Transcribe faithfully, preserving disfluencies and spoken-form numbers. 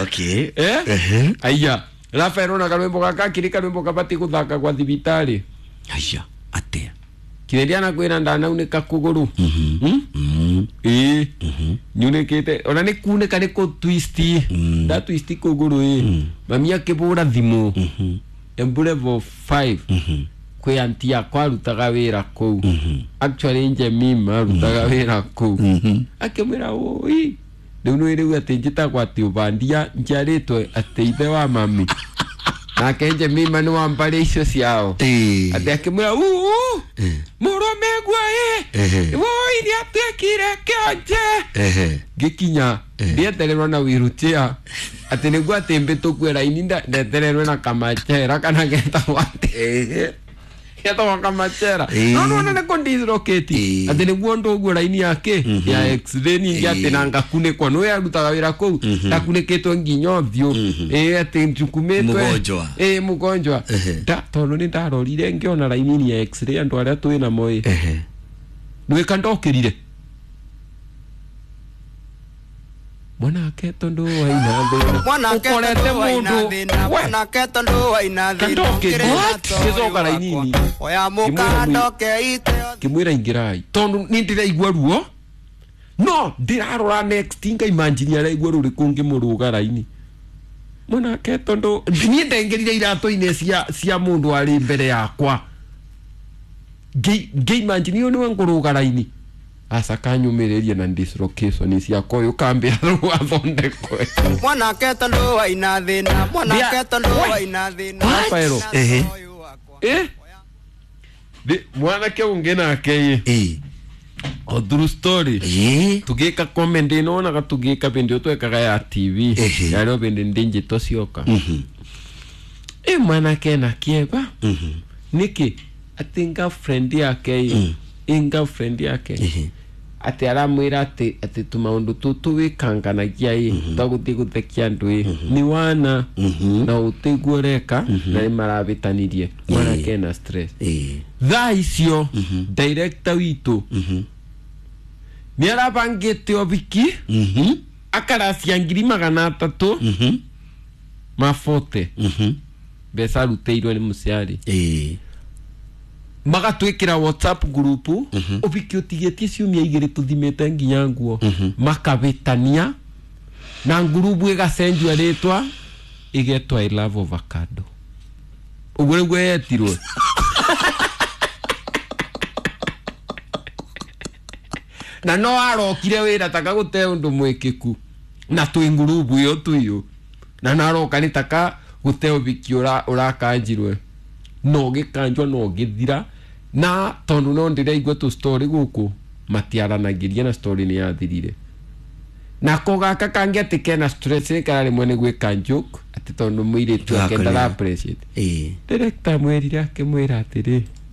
Okay. Eh? Ehe. Aya Rafael, ona karwimbo gaka kiri karwimbo kabati guthaka gwa thibitari. Aya atia? Kireria na kwira ndanaunĩka kũgũrũ. Mm? Mm. Ĩĩ, nyunĩkĩte ona nĩ kunĩka nĩ kũ twist, nda twist kũgũrũ. Ĩ mami akĩbũra thimũ Embu level five kwĩ anti yakwa arutaga wĩra kũu, actually Njemima arutaga wĩra kũu, akĩmwĩra ũi rĩu nĩ rĩu atĩ njĩtagwo atĩ ũbandia njiarĩtwo atĩ ithe wa mami nake Njemima nĩ wa mbarĩ icio ciao. Eh. Atĩ akĩmwĩra uu mũrũme gua ĩ Ehe. woi nĩ atuĩkire kĩonje. Ehe. Ngĩkinya ndietererwo na wheelchair atĩ nĩguo atĩ mbĩtũkue raini, nda- ndetererwe na kamachera kana getagwo atĩ Ehe. getagwo kamachera. Ĩĩ. No nĩwona nĩ kũndislocate Ĩĩ. atĩ nĩguo ndũguo raini yake ya x-ray ningĩ atĩ na ngakunĩkwo nĩwe arutaga wĩra kũu ndakunĩkĩtwo nginya ũthiũ ĩĩ atĩ njukumĩtwe. Mũgonjwa. Ĩĩ, mũgonjwa. Ehe. Nda tondũ nĩ ndarorire ngĩona raini ya x-ray andũ arĩa twĩ namo ĩ Ehe. nwĩka ndokĩrire mwanake tondu waina thĩna Mwanake ũkorete tondu waina mũndũ thĩna, we mwanake tondu waina thĩna, Kandokĩrire. ũkĩrĩ na Gĩcoka raini-inĩ. wakwa. Oya Ngĩmwĩra mũkandoke ite. Ngĩmwĩra ingĩrai tondu nĩ ndĩraigua ruo no ndĩrarora next ngaimagine araigua rũrĩkũ ngĩmũrũga raini mwanake tondu niĩ ndengerire iratũ-inĩ cia cia mũndũ arĩ mbere yakwa. Ngĩ- ngĩimagine ũyũ nĩwe ngũrũga raini aca kanyũmĩrĩrie na dislocation ciakwa ũyũ kambĩra rũu athondekwe. Mwanake tondu waina thĩna, mwanake Ndia- tondu We. waina thĩna. Rafaelo. Ehe. Eh? Ndi- mwanake ũngĩ nake ĩ Eh. o true story. Eh. Tugika comedy nonaga tugika bindi twekaga ya T V. Ehe. Yarĩ bindi ndinjito cioka. Mhm. Ĩ mwanake na kĩeba Mhm. nĩkĩ atĩ girlfriend yake ĩ ĩ girlfriend yake Ehe. atĩ aramwĩra atĩ atĩ tũmaũndũ tũtũ wĩkanganagia ĩ twagũthiĩ gũthekia andũ ĩ nĩ wana Mhm. na ũtĩguo ũreka na nĩ marabĩtanirie mwanake na stress. Eh. Thaa icio director witũ nĩ arabangĩte ũhiki. Mhm. Akaracia ngiri magana atatũ Mhm. mabote Mhm. mbeca arutĩirwo nĩ mũciari. Eh. Magatwĩkĩra WhatsApp group ũhiki ũtigĩtie ciumia igĩrĩ tũthimĩte nginya nguo makabĩtania na ngurubu ĩgacenjio rĩtwa ĩgetwo I love avocado, ũguo nĩguo yetirwo. Na no arokire wĩra taka gũte ũndũ mwĩkĩku na twĩ ngurubu ĩyo tuiũ na naroka nĩ taka gũte ũhiki ũra- ũrakanjirwe no gĩkanjwo no gĩthira na tondũ no ndĩraigua tũ story gũkũ matiaranagĩria na story nĩ yathirire nako gaka kangĩ atĩ kena stress nĩ kararemwo nĩ gwĩka joke atĩ tondũ mũirĩtu ake Wakũrĩa. ndara appreciate. Eh. Director amwĩrire akĩmwĩra atĩrĩ